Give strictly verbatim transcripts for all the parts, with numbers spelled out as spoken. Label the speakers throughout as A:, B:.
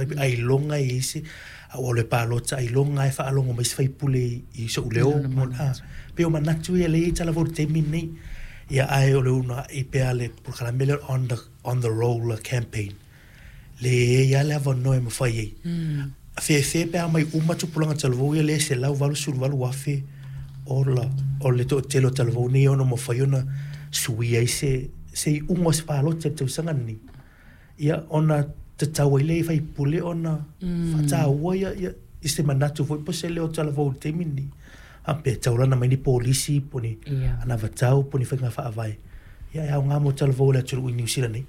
A: Faapea ailoga e i ai se a ou alu e palota, ailoga lava e faalogo mai se faipule i so'u leo. A pei o manatu ia lea e i ai talavou i le taimi lenei. Ia, ae o le uunai pea le polokalame lea on the, on the roll campaign, le e i ai lava le avanoa e mafai ai. Fefe pe a omai uma tupulaga talavou ia lea e selau valusefulu valu afe ola o le toatele o talavou nei e ono mafai ona suia ai se se iuga o se palota i le tausaga lenei. Ia, ona tatau ai lea i faipule ona faataua ia, ia i se manatu foi po o se leo o talavou i le taimi lenei. A pe taulana mai ni polisi po o ni
B: Ia.
A: anavatau po o ni faiga faavae. Ia, e aoga mo talavou o le atunuu i Niu Sila nei.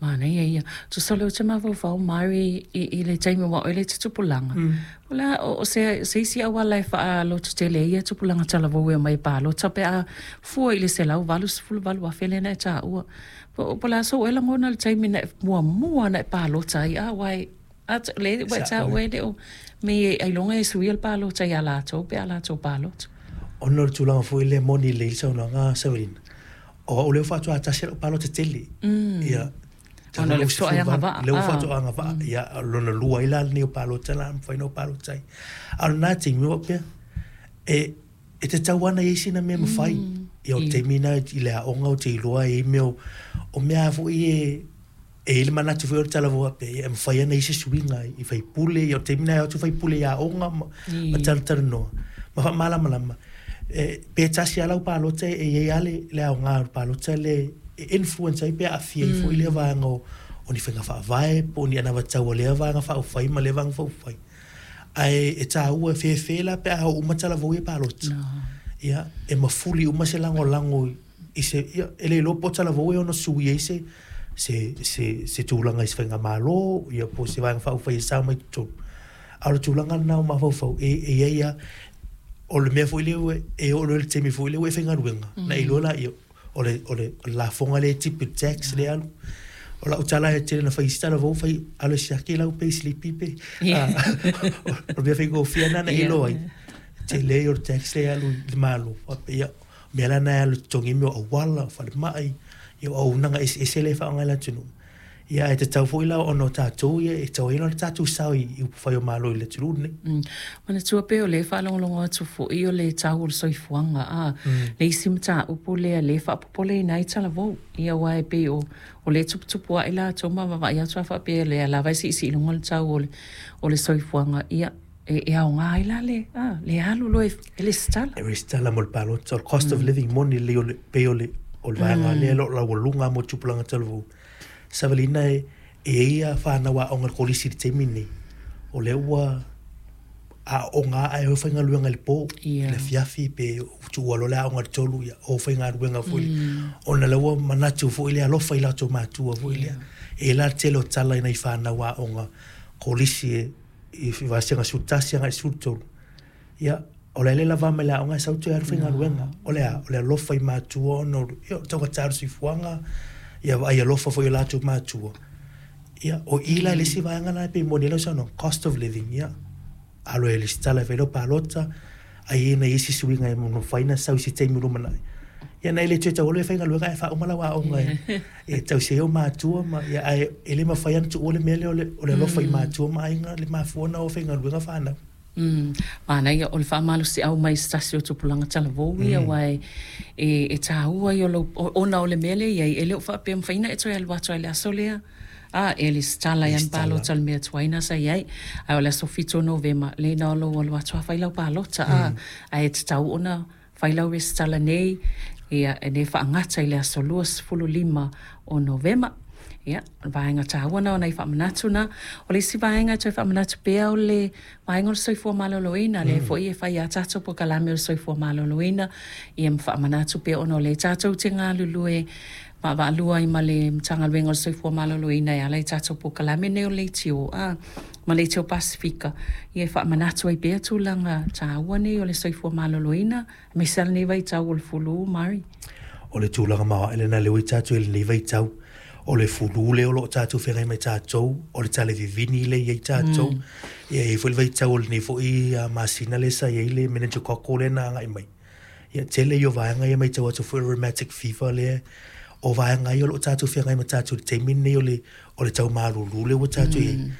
B: Manaia ia. Tusa o lea ou te mafaufau, Mari, i, i le taimi ua oe le tutupulaga. Mm. O le a, o, o se, se isi auala e faalototele ai ia tupulaga talavou e omai e palota pe a fua i le selau valusefulu valu afe lea na e taua. Po, po o le a sou ea lagona i le taimi na e muamua na e palota ai, a aua e, a le ua e taua e le o me e ailoga e suia le palota ia latou pe a latou palota.
A: Ona o le tulaga foi lea moni lelei le saunoaga a Savelina, o au lea faatoa tasi lau palota tele.
B: Mm.
A: Ia,
B: Ona o le faatoa e agavaa.
A: Lea ua faatoa agavaa. Ia, lona lua ai la lenei o palota la mafai ona ou palota ai. A o lena taimi ua faapea, e, e tatau lava ona i ai sina mea mafai. Ia, o le taimi lena i le aoga ou te iloa e i ai mea o, o mea foi e, e i ai le manatu foi o le talavou faapea, ia, e mafai ona i ai se suiga i faipule. Ia, o le taimi lena e o atu faipule i aoga ma, ma talatalanoa ma faamalamalama. E, pe tasi lava lau palota e i ai lava le, le aoga o le palota lea e influence ai pe aafia ai foi lea vaega o, o ni faiga faavae po o ni anavatau a lea vaega faaupufai ma lea vaega faaupufai. Ae e taua e fefe la pe a oo uma talavou ia e palota. Ia, e mafuli uma se lagolago i se, ia, e le iloa po o talavou e ono sui ai se, se, se, se tulaga i se faigamalo, ia, po o se vaega faaupufai e sao mai totonu. A o le tulaga lena o mafaufau, e, e i ai lava, o le mea foi lea e oo loa i le taimi foi lea ua e faigaluega, na e iloa laia, o le, o le, o le lafoga lea e tipi, le tax lea e alu. O lau tala e tele na fai isi talavou, fai, alu e siaki lau payslip pe.
B: Yeah.
A: O le mea faigofie lena na e
B: Yeah.
A: iloa ai. Tele o le tax lea e alu i le Malo. Faapea, ia, mea la na e alu totogi mea o auala, o falemai, ia, o auaunaga eseese lea e faaaoga e le atunuu. Ia, ae tatau foi la ona o tatou ia e tatau ai ona tatou sao i, i upufai o Malo i le atunuu lenei.
B: Mm. Manatua pea o lea e faalogologo atu foi o le tau o le soifuaga a mm. le isi mataupu lea lea faapopoleina ai talavou. Ia, aua e pei o o le tuputupu ae latou ma vaavaai atu a faapea lea lava e siisii luga le tau o le, o le soifuaga. Ia, e, e aoga ai la le, a, le alu loa e, e lesitala.
A: E resitala mo le palota. O le cost of living moni lelei o le, pei o le, o le vaega lea o lo o laualuga mo tupulaga talavou. Savelina e, e i ai ia whanau aoga i le kolisi i le taimi lenei. O lea ua aooga ae o faigaluega i le po,
B: Ia.
A: i le afiafi pe tuua loa le aoga i le tolu, ia, o faigaluega foi le. Ona lea ua manatu foi le alofa i latou matua foi lea. E la le tele o tala i nai whanau aoga kolisi e, i vasega sefulu tasi agai i le sefulu tolu. Ia, o le le lava mai le aoga e sau toe alu faigaluega. O le a, o le alofa i matua ona o, ia, o le taugata o le soifuaga, ia vaai alofa foi i o latou matua. Ia, o i la le isi vaega lena e pei moni ai lau saunoaga, cost of living, ia. Alo e lesitala e fai lau palota, ai e nai isi suiga e mafai ona sau i se taimi o lumanai. Ia, na e le toe taualo e faigaluega ae faauma lau aoga e, e tausi ai ou matua ma, ia, ae e le mafai ona tuua le mea lea o le, o le alofa i matua ma aiga le mafua ona o faigaluega whanau.
B: Mm. Manaia o le faamalosiau mai se tasi o tupulaga talavou ia aua e, e, e taua ia o lou, o- ona o le mea lea i ai, e le o faapea mafai ona e toe alu atu ai le aso lea. A, e lesitala ai ana
A: Lesitala.
B: palota le mea tuai na sa i ai. Ae o le aso fitu o Novema, le na o lou alu atu a fai lau palota. A, ae tatau ona fai lau resitala nei, ia, e ne faagata i le aso luasefulu lima o Novema. Ia, o le vaega taua na o nai faamanatu na. O le isi vaega e toe faamanatu pea o le vaega o le soifua maloloina, lea foi e fai a tatou polokalame o le soifua maloloina, ia ma faamanatu pea ona o lea tatou te galulue vaavaalua ai ma le Matagaluega o le Soifua Maloloina e ala i tatou polokalame nei o le Leitio a ma Leitio Pasifika, ia e faamanatu ai pea tulaga taua nei o le soifua maloloina, aemaise lava lenei vaitau o le fulu, Mari.
A: O le tulaga maoae lena lea ua i tatou i lenei vaitau. O le fulu lea o lo o tatou feagai ma tatou, o le tale vivini lea e i ai tatou. Ia, e i ai foi le vaitau o lenei foi ah, masina lea sa i ai le meningococcal lea na agai mai. Ia, tele ia o vaega ia matau atu foi o le rheumatic fever lea. O vaega ia o lo o tatou feagai ma tatou i le taimi lenei o le, o le tau malulu lea ua tatou i ai.